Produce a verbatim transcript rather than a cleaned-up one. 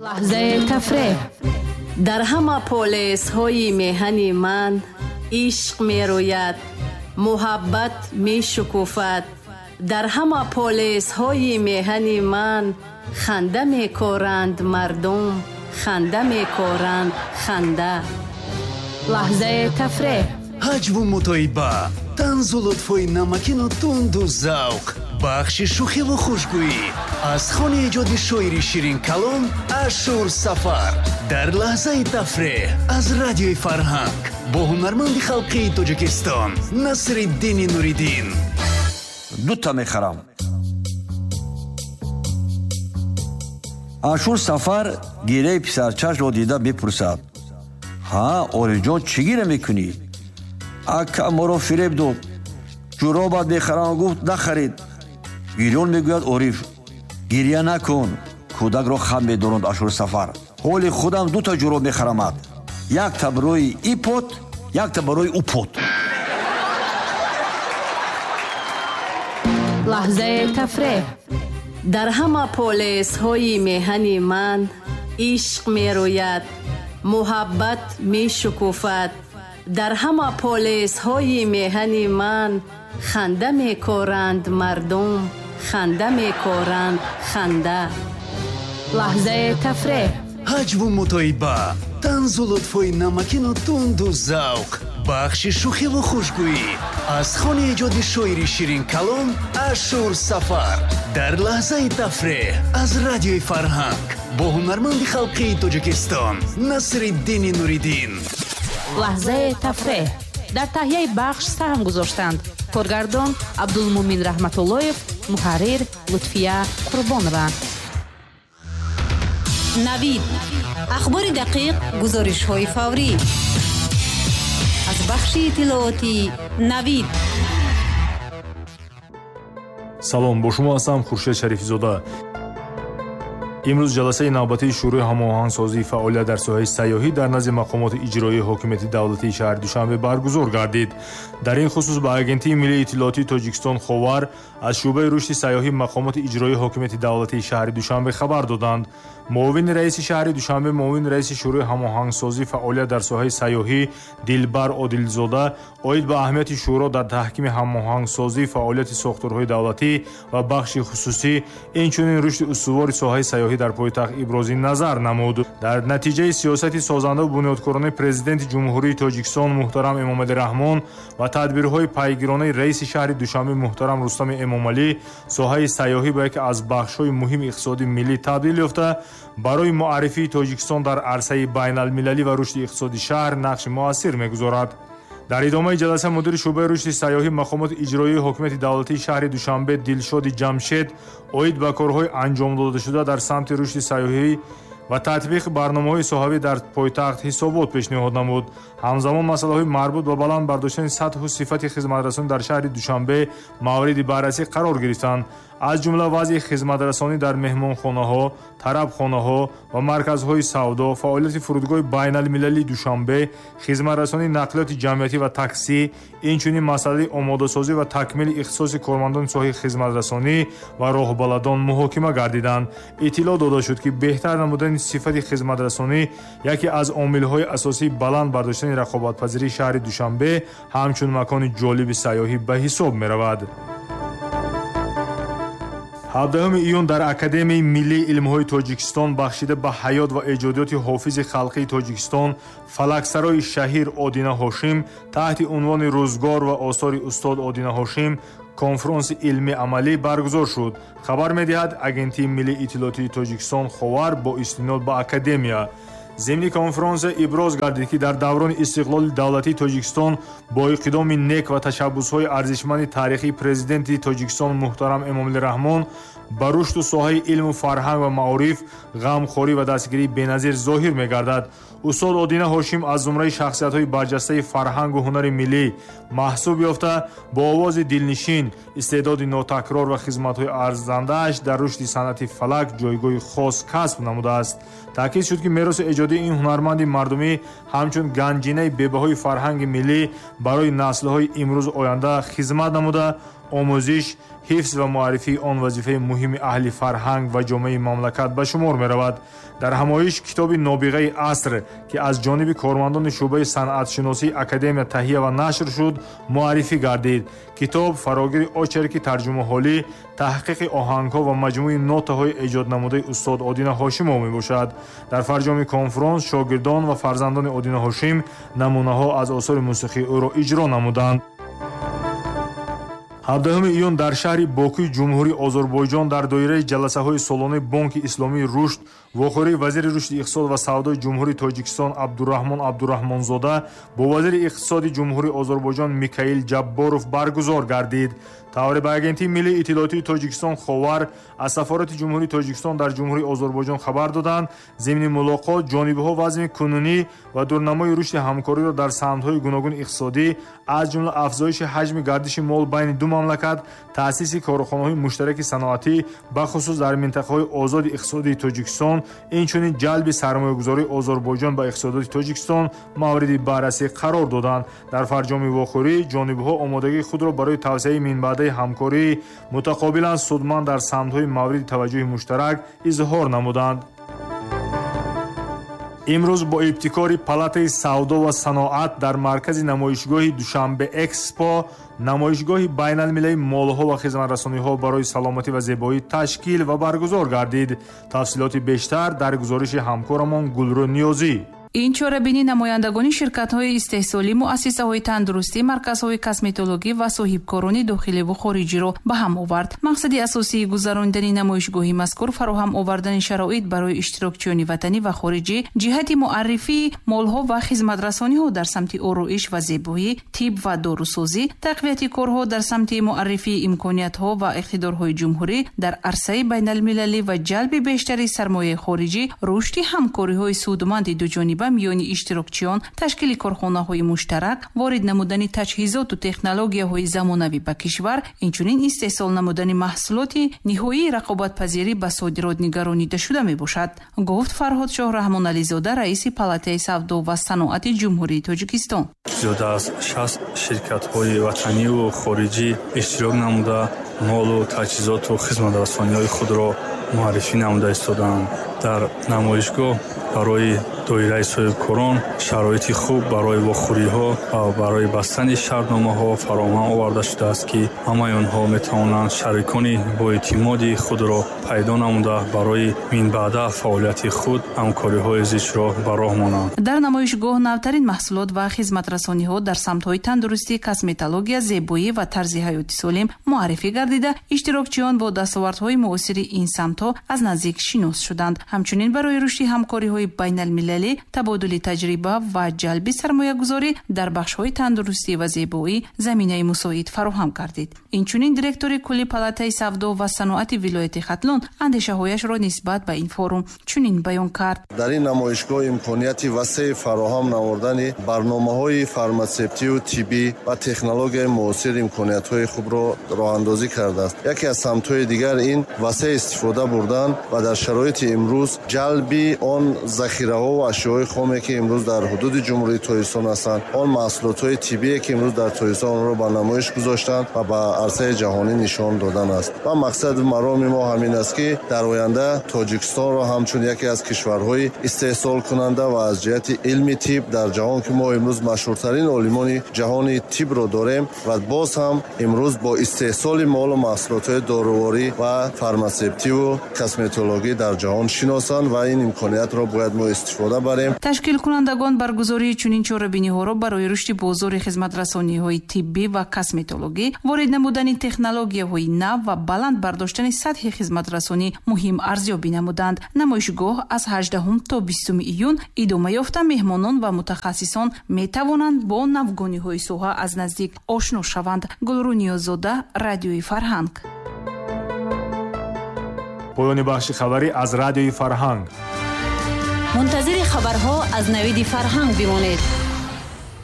Лаҳзаи тафреҳ. Дар ҳама полесҳои меҳани ман ишқ мерӯяд, муҳаббат мешукуфад. Дар ҳама полесҳои меҳани ман ханда мекоранд мардум, ханда мекоранд ханда. Лаҳзаи тафреҳ. Ҳаҷву мутоиба, танзу лутфҳои намакину тунду завқ, бахши шӯхиву хушгӯӣ аз хони эҷоди шоири ширинкалом Ашур Сафар дар лаҳзаи тафреҳ аз радиои Фарҳанг бо ҳунарманди халқии Тоҷикистон Насриддини Нуриддин. Дута мехарам. Ашур Сафар гираи писарчашро дида мепурсад: ҳа, Орифҷон, чӣ гира мекунӣ? Ака моро фиреб дод, ҷуробат мехарам, гуфт, нахарид. Гирён мегӯяд Ориф. Гирья накун, кӯдакро хам медоронд Ашур Сафар. Ҳоли худам дута ҷуроб мехарамад, якта барои ипот, якта барои упот. Лаҳзаи тафреҳ. Дар ҳама полесҳои меҳани ман ишқ мерӯяд, муҳаббат мешукуфад. Дар ҳама полесҳои меҳани ман ханда мекоранд мардум, ханда мекоранд ханда. Лаҳзаи тафреҳ. Ҳаҷву мутоиба, танзу лутфҳои намакину тунду завқ, бахши шӯхиву хушгӯӣ аз хони эҷоди шоири ширинкалом Ашур Сафар дар лаҳзаи тафреҳ аз радиои Фарҳанг бо ҳунарманди халқии Тоҷикистон Насриддини Нуриддин. Лаҳзаи тафреҳ. Дар таҳияи бахш саҳм гузоштанд коргардон Абдулмумин Раҳматуллоев, муҳаррир Лутфия Қурбонова. Навид. Ахбори дақиқ, гузоришҳои фаврӣ аз бахши иттилоотии Навид. Салом, бо шумо ҳастам Хуршед Шарифзода. Имрӯз ҷаласаи навбатии Шӯрои ҳамоҳангсозии фаъолият дар соҳаи сайёҳӣ дар назди мақомоти иҷроии ҳокимияти давлатии шаҳри Душанбе баргузор гардид. Дар ин хусус ба Агентии миллии иттилоотии Тоҷикистон Ховар аз шӯъбаи рушди сайёҳӣ мақомоти иҷроии ҳокимияти давлатии шаҳри Душанбе хабар доданд. Муовини раиси шаҳри Душанбе, муовини раиси Шӯрои ҳамоҳангсозии фаъолият дар соҳаи сайёҳӣ Дилбар Одилзода оид ба аҳамияти шӯро дар таҳкими ҳамоҳангсозии фаъолияти сохторҳои давлатӣ ва бахши хусусӣ, инчунин рушди устувори соҳаи сайёҳӣ дар пойтахт ибрози назар намуд. Дар натиҷаи сиёсати созандаву бунёдкоронаи Президенти Ҷумҳурии Тоҷикистон муҳтарам Эмомалӣ Раҳмон ва тадбирҳои пайгиронаи раиси шаҳри Душанбе муҳтарам Рустами Эмомалӣ, соҳаи сайёҳӣ ба яке аз бахшҳои муҳими иқтисоди миллӣ табдил ёфта, барои муаррифии Тоҷикистон дар арсаи байналмилалӣ ва рушди иқтисоди шаҳр нақши муассир мегузорад. Дар идомаи ҷаласа мудири шӯъбаи рушди сайёҳӣ мақомоти иҷроии ҳокимияти давлатии шаҳри Душанбе Дилшоди Ҷамшед оид ба корҳои анҷом додашуда дар самти рушди сайёҳӣ ва татбиқи барномаҳои соҳавӣ дар пойтахт ҳисобот пешниҳод намуд. Ҳамзамон масъалаҳои марбут ба баланд бардоштани сатҳу сифати хизматрасонӣ дар шаҳри Душанбе мавриди баррасӣ қарор гирифтанд. Аз ҷумла вазъи хизматрасонӣ дар меҳмонхонаҳо, тарабхонаҳо ва марказҳои савдо, фаъолияти фурудгоҳи байналмилалии Душанбе, хизматрасонии нақлиёти ҷамъиятӣ ва таксӣ, инчунин масъалаи омодасозӣ ва такмили ихтисоси кормандони соҳаи хизматрасонӣ ва роҳбаладон муҳокима гардиданд. Иттилоъ дода шуд, ки беҳтар намудани сифати хизматрасонӣ яке аз омилҳои асосии баланд бардоштани рақобатпазирии шаҳри Душанбе ҳамчун макони ҷолиби сайёҳӣ ба ҳисоб меравад. ҳабдаҳуми июн дар Академияи миллии илмҳои Тоҷикистон бахшида ба ҳаёт ва эҷодиёти ҳофизи халқии Тоҷикистон фалаксарои шаҳир Одина Ҳошим таҳти унвони «Рӯзгор ва осори устод Одина Ҳошим» конфронси илмӣ амалӣ баргузор шуд. Хабар медиҳад Агентии миллии иттилоотии Тоҷикистон Ховар бо истинод ба Академия. Зимни конфронсия иброз гардид, ки дар даврони истиқлоли давлатии Тоҷикистон бо иқдоми нек ва ташаббусҳои арзишманди таърихии Президенти Тоҷикистон муҳтарам Эмомалӣ Раҳмон ба рушду соҳаи илму фарҳанг ва маориф ғамхорӣ ва дастгирии беназир зоҳир мегардад. Устод Одина Ҳошим аз зумраи шахсиятҳои барҷастаи фарҳангу ҳунари миллӣ маҳсуб ёфта, бо овози дилнишин, истеъдоди нотакрор ва хизматҳои арзандааш дар рушди санъати фалак ҷойгоҳи хос касб намудааст. Таъкид шуд, ки мероси эҷодии ин ҳунарманди мардумӣ ҳамчун ганҷинаи бебаҳои фарҳанги миллӣ барои наслҳои имрӯзу оянда хизмат намуда, Омӯзиш, ҳифз ва муаррифии он вазифаи муҳими аҳли фарҳанг ва ҷомеаи мамлакат ба шумор меравад. Дар ҳамоиш китоби «Нобиғаи аср», ки аз ҷониби кормандони шӯъбаи санъатшиносии академия таҳия ва нашр шуд, муаррифӣ гардид. Китоб фарогири очерки тарҷумаҳолӣ, таҳқиқи оҳангҳо ва маҷмӯи нотаҳои эҷоднамудаи устод Одина Ҳошимов мебошад. Дар фарҷоми конфронс шогирдон ва фарзандони Одина Ҳошим намунаҳо аз осори мусиқии ӯро иҷро намуданд. ҳабдаҳуми июн дар шаҳри Бокуи Ҷумҳурии Озарбойҷон дар доираи ҷаласаҳои солонаи Бонки Исломии Рушд вохӯрии вазири рушди иқтисод ва савдои Ҷумҳурии Тоҷикистон Абдураҳмон Абдураҳмонзода бо вазири иқтисоди Ҷумҳурии Озарбойҷон Микаил Ҷабборов баргузор гардид. Тавре ба Агентии миллии иттилоотии Тоҷикистон Ховар аз сафорати Ҷумҳурии Тоҷикистон дар Ҷумҳурии Озарбойҷон хабар доданд, зимни мулоқот ҷонибҳо вазъи кунунӣ ва дурнамои рушди ҳамкориро дар самтҳои гуногуни иқтисодӣ, аз ҷумла афзоиши ҳаҷми гардиши мол байни ду мамлакат, таъсиси корхонаҳои муштараки саноатӣ, бахусус дар минтақаҳои озоди иқтисодии Тоҷикистон, инчунин ҷалби сармоягузории Озарбойҷон ба иқтисодоти Тоҷикистон мавриди баррасӣ қарор доданд. Дар фарҷоми вохӯрӣ ҷонибҳо омодагии худро барои тавсеаи минбаъдаи ҳамкории мутақобилан судманд дар самтҳои мавриди таваҷҷӯҳи муштарак изҳор намуданд. Имрӯз бо ибтикори Палатаи савдо ва саноат дар маркази намоишгоҳи Душанбе Экспо намоишгоҳи байналмилалии молҳо ва хизматрасониҳо барои саломатӣ ва зебоӣ ташкил ва баргузор гардид. Тафсилоти бештар дар гузориши ҳамкорамон Гулрӯ Ниёзӣ. Ин чорабинӣ намояндагони ширкатҳои истеҳсолӣ, муассисаҳои тандурустӣ, марказҳои косметологӣ ва соҳибкорони дохиливу хориҷиро ба ҳам овард. Мақсади асосии гузаронидани намоишгоҳи мазкур фароҳам овардани шароит барои иштирокчиёни ватанӣ ва хориҷӣ ҷиҳати муаррифии молҳо ва хизматрасониҳо дар самти ороиш ва зебоӣ, тиб ва дорусозӣ, тақвияти корҳо дар самти муаррифии имкониятҳо ва иқтидорҳои ҷумҳурӣ дар арсаи байналмилалӣ ва ҷалби бештари сармояи хориҷӣ, рушди ҳамкориҳои судманди дуҷониба миёни иштирокчиён, ташкили корхонаҳои муштарак, ворид намудани таҷҳизоту технологияҳои замонавӣ ба кишвар, инчунин истеҳсол намудани маҳсулоти ниҳоии рақобатпазирӣ ба содирот нигаронида шуда мебошад, гуфт Фарҳодшоҳ Раҳмонализода, раиси Палатаи савдо ва саноати Ҷумҳурии Тоҷикистон. Зиёда аз шаст ширкатҳои ватаниву хориҷӣ иштирок намуда молу таҷҳизоту хизматрасониҳои худро муаррифӣ намуда истодаанд. Дар намоишгоҳ барои доираи соҳибкорон шароити хуб барои вохӯриҳо ва барои бастани шартномаҳо фароҳам оварда шудааст, ки ҳамаи онҳо метавонанд шарикони боэътимоди худро пайдо намуда барои минбаъда фаъолияти худ ҳамкориҳои зичро ба роҳ монанд. Дар намоишгоҳ навтарин маҳсулот ва хизматрасониҳо дар самтҳои тандурустӣ, косметология, зебоӣ ва тарзи ҳаёти солим муаррифӣ гардида, иштирокчиён бо дастовардҳои муосири ин самтҳо аз наздик шинос шуданд. Ҳамчунин барои рушди ҳамкориҳои байналмилалӣ, табодули таҷриба ва ҷалби сармоягузорӣ дар бахшҳои тандурустӣ ва зебоӣ заминаи мусоид фароҳам гардид. Инчунин директори кулли Палатаи савдо ва саноати вилояти Хатлон андешаҳояшро нисбат ба ин форум чунин баён кард. Дар ин намоишгоҳ имконияти васеи фароҳам намудани барномаҳои фарматсевтию тиббӣ ва технологияи муосир имкониятҳои хубро роҳандозӣ кардааст. Яке аз самтҳои дигар ин васеъ истифода бурдан ва дар шароити имрӯз ҷалби он захираҳо ва ашёҳои хоме, ки имрӯз дар ҳудуди Ҷумҳурии Тоҷикистон ҳастанд, он маҳсулотҳои тиббие, ки имрӯз дар Тоҷикистон онро ба намоиш гузоштанд ва ба арсаи ҷаҳонӣ нишон додан аст. Ва мақсади мароми мо ҳамин аст, ки дар оянда Тоҷикистонро ҳамчун яке аз кишварҳои истеҳсолкунанда ва аз ҷиҳати илми тиб дар ҷаҳон, ки мо имрӯз машҳуртарин олимони ҷаҳони тибро дорем ва боз ҳам имрӯз бо истеҳсоли молу маҳсулотҳои доруворӣ ва фарматсевтиву косметологӣ дар ҷаҳон шиносанд ва ин имкониятро бояд мо истифода барем. Ташкилкунандагон баргузории чунин чорабиниҳоро барои рушди бозори хизматрасониҳои тиббӣ ва косметологӣ, ворид намудани технологияҳои нав ва баланд бардоштани сатҳи хизматрасонӣ муҳим арзёбӣ намуданд. Намоишгоҳ аз ҳаждаҳум то бистуми июн идома ёфта, меҳмонон ва мутахассисон метавонанд бо навгониҳои соҳа аз наздик ошно шаванд. Гулрӯ Ниёззода, Радиои Фарҳанг. Поёни бахши хабарӣ аз Радиои Фарҳанг. Мунтазири хабарҳо аз Навиди Фарҳанг бимонед.